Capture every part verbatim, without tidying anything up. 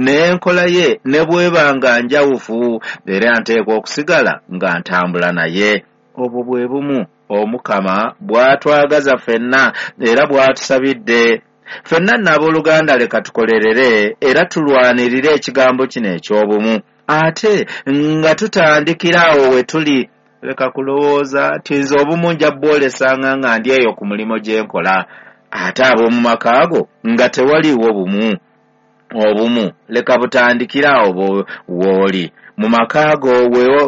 N'enkola ye ne bw'eba nga njawufu, era nteekwa okusigala nga ntambula naye. Obwo bwe bumu Omukama bw'atwagaza ffenna era bw'atusabidde. Ffenna nno abooluganda, leka tukolerere era tulwanirire ekigambo kino eky'obumu, ate nga tutandikira awo we tuli. Leka kulowooza nti nze obumu nja bwolesanga nga ndi eyo ku mulimu gye nkola, ate ab'omu maka go nga tewaliiwo bumu. Obumu leka butandikira awo w'oli mu maka go,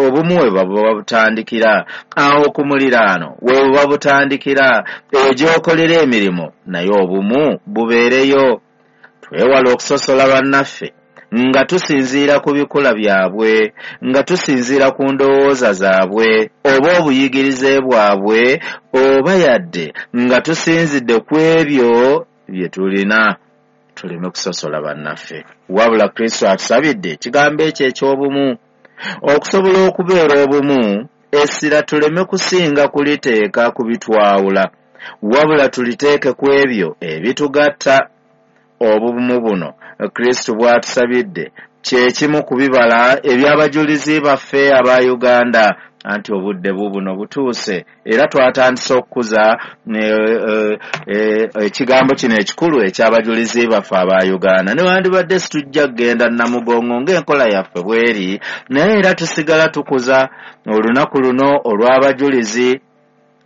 obumu we buba butandikira awo ku muliraano, we buba butandikira eyo gy'okolera emirimu, naye obumu bubeereyo. Twewale okusosola bannaffe nga tusinziira ku bikula byabwe, nga tusinziira ku ndowooza zaabwe oba obuyigirize bwabwe, oba yadde nga tusinzidde ku ebyo bye tulina. Tuleme kusosola bannaffe, wabula Kristo atusabidde ekigambo ekyo eky'obumu. Okusobola okubeera obumu, essira tuleme kusinga kuliteeka ku bitwawula, wabula tuliteeke ku ebyo ebitugatta. Obumu buno Kristo bw'atusabidde kye kimu ku bibala eby'abajulizi baffe aba Uganda. Anti obudde bubuno butuuse, era twatandise okukuza ekigambo kino ekikulu eky'abajulizi baffe aba Uganda. Newandibadde situjja kugenda Namugongo ng'enkola yaffe bw'eri, naye era tusigala tukuza olunaku luno olw'abajulizi.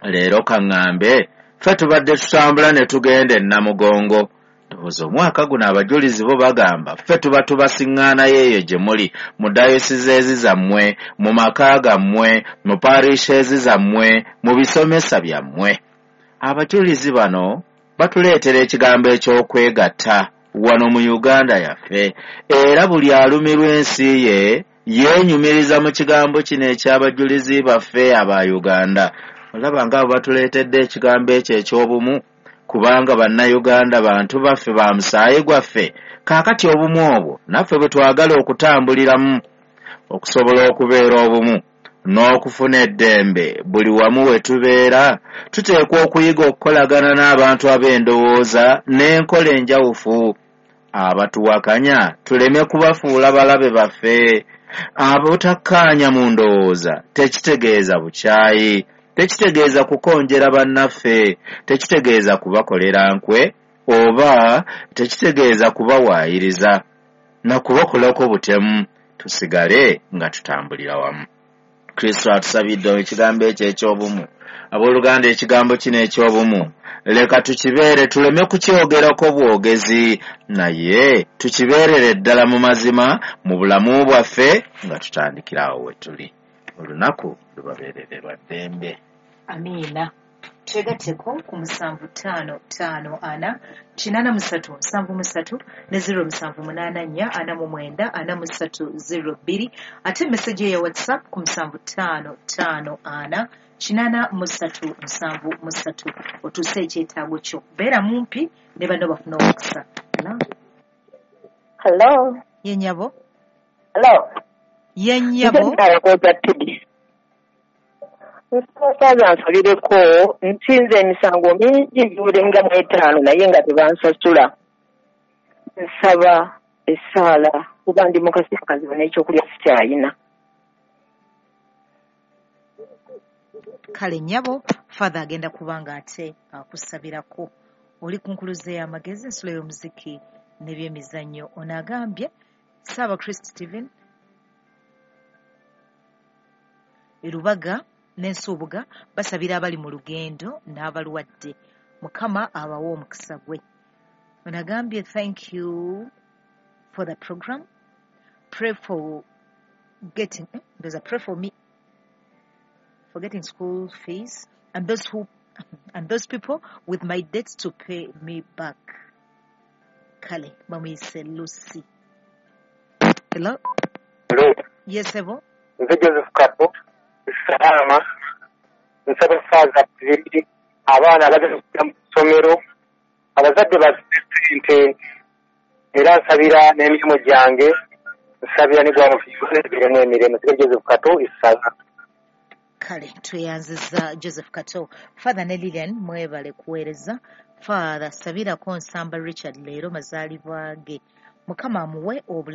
Leero kaŋŋambe, ffe tubadde tutambula ne tugenda e Namugongo. Ndowooza omwaka guno abajulizi bo bagamba ffe tuba tubasiŋŋaanayo eyo gye muli, mu dayosizeezi zammwe, mu maka gammwe, mu parishes zammwe, mu bisomesa byammwe. Abajulizi bano batuleetera ekigambo eky'okwegatta wano mu Uganda yaffe, era buli alumirwa ensi ye yeenyumiriza mu kigambo kino eky'abajulizi baffe aba Uganda. Olaba nga abo batuleetedde ekigambo ekyo eky'obumu, kubanga bannayuganda bantu baffe ba musaayi gwaffe. Kaakati obumu obwo naffe bwe twagala okutambuliramu okusobola okubeera obumu n'okufuna eddembe buli wamu we tubeera, tuteekwa okuyiga okukolagana n'abantu ab'endowooza n'enkola enjawufu. Abatuwakanya tuleme kubafuula balabe baffe. Abutakkaanya mu ndowooza tekitegeeza bukyayi, tekitegeeza kukonjera bannaffe, tekitegeeza kubakolera nkwe, oba tekitegeeza kubawaayiriza na kubakolako butemu. Tusigale nga tutambulira wamu. Kristo atusabidde ekigambo ekyo eky'obumu. Abooluganda, ekigambo kino eky'obumu leka tukibeere, tuleme kukyogerako bwogezi, naye tukibeerere ddala mu mazima mu bulamu bwaffe nga tutandikira awo we tuli. Olunaku lubabeerere lwa ddembe. Amiina. Twegatteko ku musanvu ttaano ttaano ana kinaana mu ssatu nsanvu mu ssatu ne zero musanvu munaana nnya ana mu mwenda ana mu ssatu zero bbiri, ate meseji eya WhatsApp ku musanvu ttaano ttaano ana kinaana mu ssatu nsanvu mu ssatu. Otuuse ekyetaago kyo, beera mumpi ne banno bafuna omukisa. Hello. Ye nnyabo. Hello. Ye nnyabo. Nsaba nsabireko, nsinze emisango mingi giwulenga mu etaano naye nga tebansasula. Nsaba essaala kuba ndi mukasi kazibu n'ekyokulya sikyayina. Kale nnyabo, Father agenda kubanga ate akusabirako. Oli ku nkuluze y'amagezi, ensulo y'omuziki n'ebyemizannyo. Ono agambye Ssaaba Christ Stephen Erubaga n'Ensuubuga basabira abali mu lugendo n'abalwadde. Mukama abawe omukisa gwe. Ono agambye thank you for the program. Pray for getting, eh? There's a pray for me for getting school fees and those who and those people with my debts to pay me back. Kale bamuyise Lucy. Hello? Hello. Yes, Ebo. Nze Joseph Kato. Salama. Nsaba Father tubiri abaana abagenda kujja mu ssomero, abazadde bazze era nsabira n'emirimu gyange, nsabira ne gwamufiiremu emirimu. Nsiga Joseph Kato Isala. Kale tweyanziza Joseph Kato. Father ne Lilian mwebale kuweereza. Father sabirako Nsamba Richard leero mazaalibwa ge. Mukama amuwe obulamu.